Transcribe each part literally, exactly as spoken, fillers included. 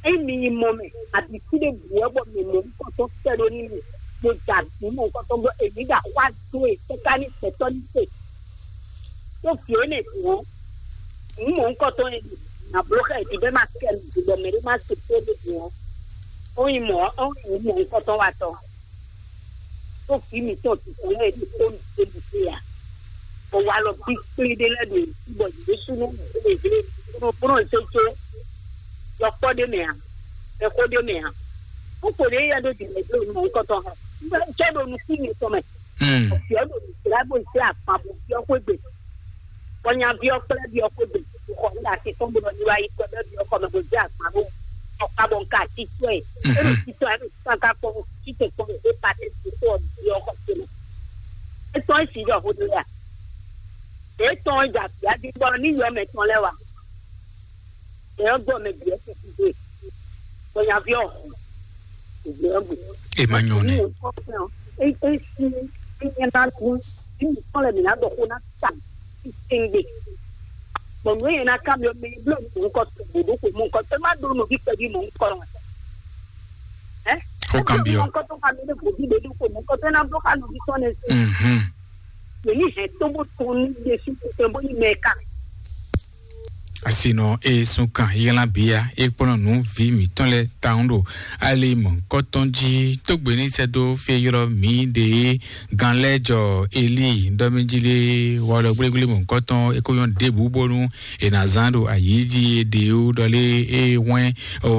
Ényí mi yi mɔ mɛ, abǐ fí ɖěbǔ wɛ bɔ mi mɔ nukɔntɔn sɛ́ ɖó n'i mɛ, bó da nǔ mɔ̌hunkɔtɔn bɔ èmí ɖo axwá dó e káká ní gbɛtɔ́ ní se. Ɖó vǐ énɛ́ din ɔ́, nǔ mɔ̌hunkɔtɔn e nǎ bló xá è ɖi bɔ é ma kɛ nǔ ɖi bɔ mɛɖé má se kpó ɖé din ɔ́, ó nyí mɔ̌ ó nyí nǔ mɔ̌hunkɔtɔn watɔ́. Ɖó vǐ mǐtɔn titun lɛ́ɛ ɖo xó nǔ ɖé ɖu xwé ǎ. Bɔ walɔ bí kplé ɖé lɛ́ɛ ɖo yě sí bɔ yě ɖésúnɔ ɖo yě ɖésúnɔ bó nɔ zé có yɔkpɔ́ ɖé mɛ ǎ, mɛxó ɖé mɛ ǎ. Xó kpo ɖě yɛ ɖó dǐndɛ́n dó nǔ mɔ̌hunkɔtɔn hàn. Un cɛ ɖo nukún mitɔn mɛ. Vǐ ɔ́ ɖo nǔ jlá bó zé agban bó byɔ́ xwé gbe. Bɔ nyaví ɔ́ kplá vǐ ɔ́ xwé gbe, xɔ ní asi tɔn bó nɔ yi wá yi kɔ ɖɔ vǐ ɔ́ kɔmɛ bó zé agban ɖó ɔkpa bɔ un ka titɔ ɛ. É ɖo titɔ ɛ, é ɖo titɔ ɛ, un ka kpɔn titɔ kpɔn é pa tɛ ti xó ɔ́ vǐ ɔ́ xɔ ce mɛ. É tɔn é si ɖɔ xó ɖé ya. É tɔn é dza vǐ adi bɔ ní yɔ mɛ tɔn lɛ́ wa. Mɛ ɔ́ gbɔ mɛ bǐ ɔ́ tɛ́ xwé, bɔ nyaví ɔ́ hu, è gbé ɔ́ gbe. È ma nyɔ nɛ. Ní nǔkɔn fɛn ɔ́, é é sí é nyɛ ná gún, ní nǔkɔn lɛ mǐ ná ɖɔ xó ná ta titewungbe. Bɔ nǔ e ná ká mi ɔ́, mɛ e bló mɔ̌hunkɔ gbǒdó xwe mɔ̌hunkɔ, é má ɖó nɔví kpɛví mɔ̌hunkɔ ɔ́. Ɛ? Xó kan byɔ́. Mɔ̌hunkɔ tó ká mi ɖé gbòdú ɖé ɖó xwe mɔ̌hunkɔ tó ná bló xá nɔví tɔn nɛ. Mhm. Mɛ ní hɛn tó bó tɔn ní ɖésú tɛn bó nyí mɛ ká. Asinɔ e sun kan yilán bia e kplɔ́n nǔ vǐ mǐtɔn lɛ́ɛ tawun ɖo ali mɔ̌hunkɔtɔn jí. Tógbe ní sɛ́ dó fí e ylɔ́ mǐ ɖe é, gan lɛ́ jɔ Elíi ɖɔ mɛ jí lé, walɔ gblégblé mɔ̌hunkɔtɔn é ko nyɔ́ ɖěbǔ bónú è nǎ zán ɖo ayǐ jí é ɖe ó, ɖɔ lé é hwɛ́n o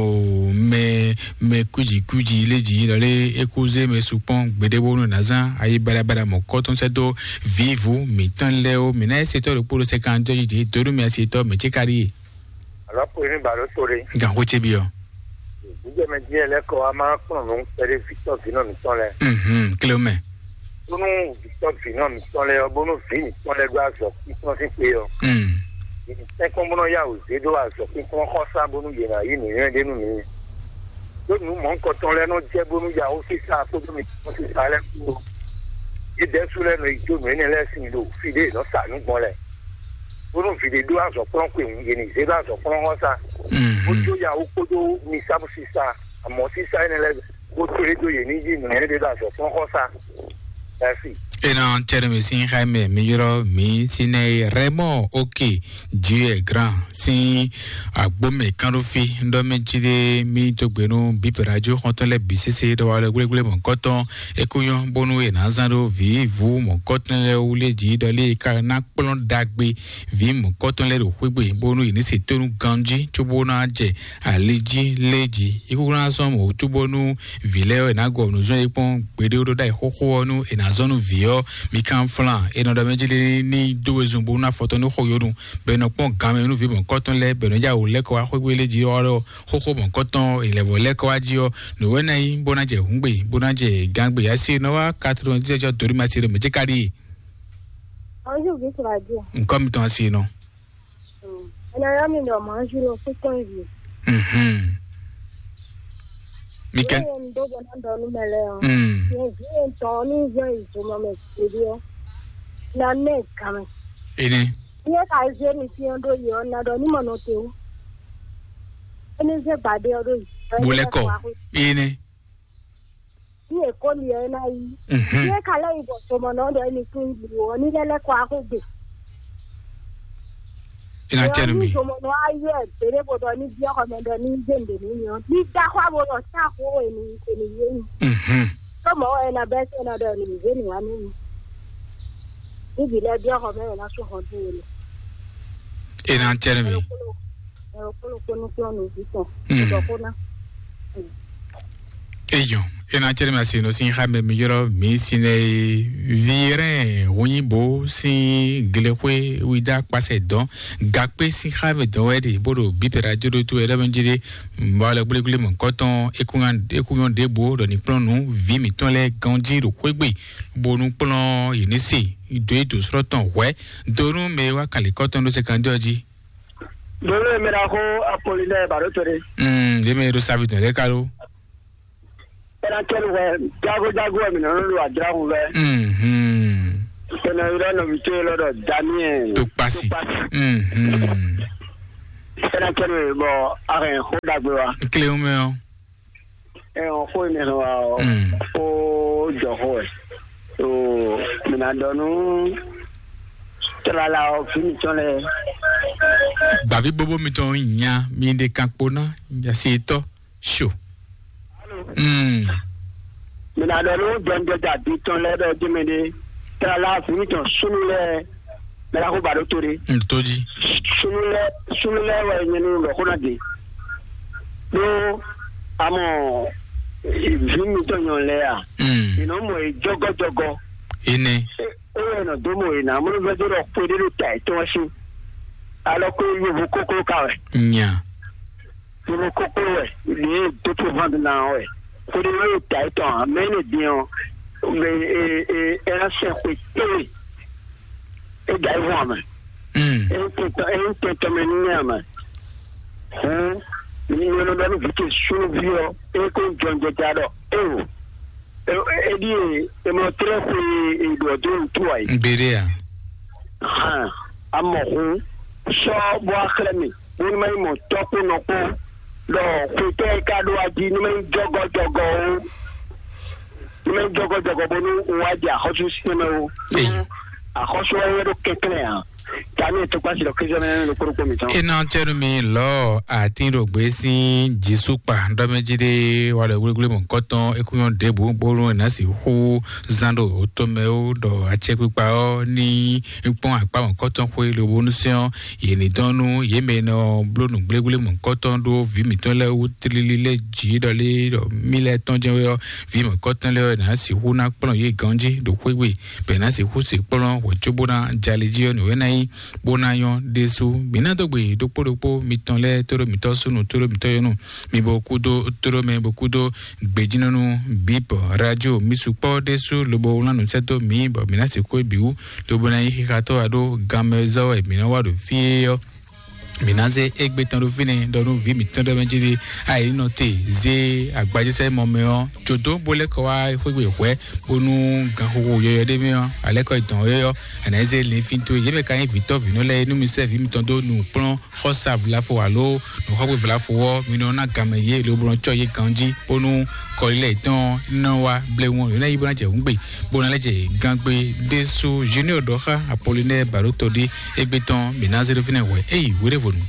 mɛ mɛ kwíji kwíji lé jí, ɖɔ lé é kú zé mɛ sukpɔ́n gbeɖé bónú è nǎ zán ayi baɖabaɖa mɔ̌hunkɔtɔn sɛ́ dó vǐvú mǐtɔn lɛ́ɛ ó. Mǐ ná é se tɔ́ ɖokpó ɖo sɛkánjɔ jí dě dó nú mì asi tɔ́ mɛ ce ka ɖíe. Alɔ́ kpo ní bǎ ɖó to ɖé. Gan xó ce byɔ́. Gbígbɛ́mɛ dín lɛ́ kɔ wá má kplɔ́n nǔ kpɛɖé vǐtɔ́ vǐnɔ mǐtɔn lɛ́ɛ. Mhm, klé mɛ. Bónú vǐtɔ́ vǐnɔ mǐtɔn lɛ́ɛ ɔ́, bónú vǐ mǐtɔn lɛ́ɛ ɖó azɔ̌ kpínkplɔ́n sín xwé ɔ́. Mm. Yě ní tɛ́nkpɔ́n bó nɔ́ yá wǔ zé ɖó azɔ̌ kpínkplɔ́n xɔ́sá bónú yě ná yí nǔnywɛ́ ɖé nú mǐ. Ɖó nǔ mɔ̌hunkɔtɔn lɛ́ɛ nɔ jɛ bónú yahú sísá kpódó mǐtɔn sísá lɛ́ɛ kpó. Yě ɖɛ̌su lɛ́ɛ nɔ yi jó nǔ énɛ́ lɛ́ɛ sin ɖo fí ɖé è nɔ sa nǔ gbɔn lɛ́ɛ. Bónú vǐ ɖé ɖó azɔ̌ kplɔ́n xweyǐhun, yě ní zé ɖó azɔ̌ kplɔ́n xɔ́sá. Mhm. Bó jó yahú kpódó misámú sísá, amɔ̌ sísá énɛ́ lɛ́ɛ bó tlé dó yě ní yí nǔ énɛ́ ɖé ɖo azɔ̌ kplɔ́n xɔ́sá. Mɛ̌si. Enɔ cɛɖɛmɛ sín xá mɛ mi ylɔ́ mǐ sín nɛ e Rɛmɔ Oke Juyɛ Gran sín agbómɛ kánɖófí ɖɔ mɛ jí ɖé mí dó gbe nú bǐ radio xɔntɔn lɛ́ɛ bǐ sésé ɖɔ wa lɛ wléwlé mɔ̌hunkɔtɔn é kú nyɔ́ bónú è nǎ zán ɖó vǐvú mɔ̌hunkɔtɔn lɛ́ɛ wú lé jí ɖɔ lé é ka ná kplɔ́n ɖagbe vǐ mɔ̌hunkɔtɔn lɛ́ɛ ɖo xwé gbe bónú yě ní se tónú ganjí cóbó ná jɛ ali jí lé jí. É kúkú ná zɔ́n mɔ̌ wútu bónú vǐ lɛ́ɛ ɔ́, è nǎ gɔ nǔ zɔ́n yě kpɔ́n gbeɖé ɖó ɖ'ayǐ xóxó ɔ́ nú è nǎ zɔ́n nú vǐ ɔ́. Mi kan flán, è nɔ ɖɔ mɛ jí lé ní dó wezun bónú ná fɔ tɔn ní xo yó nu, bɔ è nɔ kpɔ́n gan mɛ nú vǐ mɔ̌hunkɔtɔn lɛ́ɛ, bɔ è nɔ já wǔ lɛ́ kɔ wá xwé gbe lé jí ɔ́, xóxó mɔ̌hunkɔtɔn è lɛ̌ vɔ lɛ́ kɔ wá jí ɔ́, nǔ wɛ ná nyí bó ná jɛ hǔngbe, bó ná jɛ gǎngbe. Asi nɔ wá quatre-vingt-dix jɔ dǒ ní ma se ɖo mɛ jí ka ɖíe. Bonjour, Bísí Radio. Nǔkɔ mitɔn asi nɔ. Ena ya mi ɖɔ mɔ̌ zi ɖo kúkɔn yi. Mhm. Mi kɛ. Ye n do bɔ na dɔ nu mɛ lɛ o. Mm. Ye vi ye tɔ ni yɔ yi zomɔ mɛ sidi o. Na ne game. Ene. Ye ka ze mi fi do yi o na dɔ ni mɔ no te o. Ene ze gbade o do yi. Bolɛ kɔ. Ene. Ní èkó li ɛ ná yí. Mhm. Ní é ka lɛ́ yi bɔ zomɔnɔ ɖɔ émi kún yi ɔ ní lɛ́ lɛ́ kɔ axó gbe. Ina cɛ nu mi. Zomɔnɔ ayɔ ɛ bèrè bó ɖɔ ní biɔ xɔ mɛ ɖɔ ní dé ndè ní nyɔ ní da xɔ abo ɖɔ tá xó èmi èmi yé mi. Mhm. Tó mɔ ɛ na bɛ sɛ na ɖɔ èmi zé ni wá ní mi. Ní bi lɛ biɔ xɔ mɛ ɛ na sún xɔ dún èmi. Ina cɛ nu mi. Ɛ kolo kolo kolo kolo kolo kolo. Mhm. Dɔ kó ná. Eyɔn, ena cɛɖɛ ma se nɔ sin xa mɛ mi yɔrɔ mi sinɛ virɛn hunyibo sin glexwe wida kpasɛ dɔn gakpe sin xa mɛ dɔn wɛ de bó ɖo bipɛra joɖo to ɛɖɛ mɛ jere mɔ lɛ gblégblé mɔ kɔtɔn ekunyɔn ɖěbo ɖɔ ní kplɔn nú vi mǐtɔn lɛ ganji ɖo xwégbe bónú kplɔn yě ní se do yi do srɔ́ tɔn hwɛ donu mɛ wa kali kɔtɔn ɖo se kan jɔ ji. Donu mɛ ɖaxó Apolinɛ baɖo to ɖe. Mm, ɖe mɛ ɖo savi tɔn ɖe kalo. Ena kɛlu hwɛ jago jago wɛ mi nɔ ɖo adra hun vɛ. Mhm. Ena yɔrɔ nɔvi to yɔrɔ dɔ Daniel. To kpasi. To kpasi. Mhm. Sɛnɛtɛri bɔ a hɛn xó ɖagbe wa. Kléwún mɛ ɔ́. Ɛ ɔn xó mi hɛn wa ɔ. Mm. Xó jɔ xó ɛ. O mi na dɔ nu. Tlala ɔ fi mi tɔn lɛ. Gbàví bóbó mitɔn nya mi ɖe kan kpo ná yasi tɔ. Sho. Mm. Mi na dɔ nu jɔnjɔja bi tɔn lɛ dɔ jɛmɛ de. Tlala fi mi tɔn sunu lɛ. Mɛ la ko ba ɖo to de. N to ji. Sunu lɛ sunu lɛ wɛ nyɛ nu lɔ xó na de. Ɖó amɔ vi mi tɔn nyɔ lɛ a. Mm. Inɔ mɔ e jɔgɔjɔgɔ. Ene. O yɛ nɔ dó mɔ e na mɔ vɛ dó ɖɔ kpe ɖé ɖo ta etɔn si. Alɔ ko yovo koklo ka wɛ. Nya. Yovo koklo wɛ. Ɖe dó to van na wɛ. Ko ɖé wɛ ɖo ta etɔn a mɛ ne din ɔ. Mɛ e e e na sɛ xwe tɛnwe. E da yi vɔn a mɛ. Mm. E n tɛntɔn e n tɛntɔn mɛ ní a mɛ. Hɔn mi nyɔnɔ dɔ ní vi te sunuvi ɔ e ko jɔnjɔja dɔ e o. Eɖi e emɔ trɛ xwe eɖɔ do ŋtu ayi. N gbeɖe a. Hàn, amɔ hun sɔ bɔ axlɛ mi bó ní ma nyí mɔ tɔkpó nɔkpó ɖɔ xwetɛ e ka ɖo aji ní ma nyí jɔgɔjɔgɔ o. Ní ma nyí jɔgɔjɔgɔ bó ní wá jɛ axɔ́sú sinɛ mɛ o. Axɔ́sú wɛ ɖo kɛnklɛn a. Tani e tokpasi ɖɔ Kristo mɛ ɖo kpóɖokpó mitɔn. Ena tɛnu mi lɔ atin ɖo gbé sín jisukpa ɖɔmɛjí ɖé wa lɛ wléwlé mɔ kɔtɔn ekúnyɔ ɖěbǔ bónú ena sixú zán ɖo tɔmɛ ó ɖɔ acɛkpikpa ɔ́ ní kpɔ́n akpá mɔ kɔtɔn xwé lobónú sɛn ɔ́ yě ní dɔn nú yě mɛ nɔ bló nǔ gbléwlé mɔ kɔtɔn ɖó vǐ mǐtɔn lɛ́ɛ wú tlílí lɛ́ɛ jǐ ɖɔ lé ɖɔ mí lɛ́ɛ tɔn jɛ́n wɛ ɔ́ vǐ mɔ kɔtɔn lɛ́ɛ ɔ́ ná sixú ná kplɔ́n yě ganjí ɖo xwé gbe bɔ è nǎ sixú se kplɔ́n wǒ cóbó ná jalí jí ɔ́ nǔ é ná nyí bó ná nyɔ́ ɖésú. Mǐ ná dó gbe ɖokpó ɖokpó mitɔn lɛ́ɛ tóɖó mitɔ́ súnnu tóɖó mitɔ́ yɔ́nú mi bo kúdó tóɖó mɛ bo kúdó gbejínɔ́nú bǐ bɔ radio mi sukpɔ́ ɖésú lobo wlán nǔ sɛ́ dó mǐ bɔ mǐ ná sixú é bǐ wú lobo ná nyí xixatɔ́ wá ɖó ganmɛ zɔ́ wɛ mǐ ná wá ɖo fí é ɔ́. Mǐ ná zé égbé tɔn ɖó fínɛ́ ɖɔ nú vǐ mǐtɔn ɖɔ mɛ jí ɖi ayǐ nɔ te zé agbajésɛ́ mɔ mɛ ɔ́ jǒdó bó lɛ́ kɔ wá xwégbe hwɛ̌ bónú ganxixo yɔyɔ ɖé mɛ ɔ́ alɛ́kɔ dɔn yɔyɔ àná zé linfín towe yě mɛ ka nyí vǐtɔ́ vǐnɔ lɛ́ɛ nú mi sɛ́ vǐ mitɔn dó nukplɔ́n xɔ́sa vlafo alo nǔxɔ́gbé vlafo ɔ́ mi nɔ ná ganmɛ yě lobo nɔ cɔ́ yě ganjí bónú kɔlilɛ yětɔn nɔ wá blewun yě ná yí bó ná jɛ hǔngbe bó ná lɛ́ jɛ gangbe ɖésú junior ɖɔ xá apolinɛ bàɖótɔ ɖé égbé tɔn mǐ ná zé ɖó fínɛ́ hwɛ éyi wéɖévo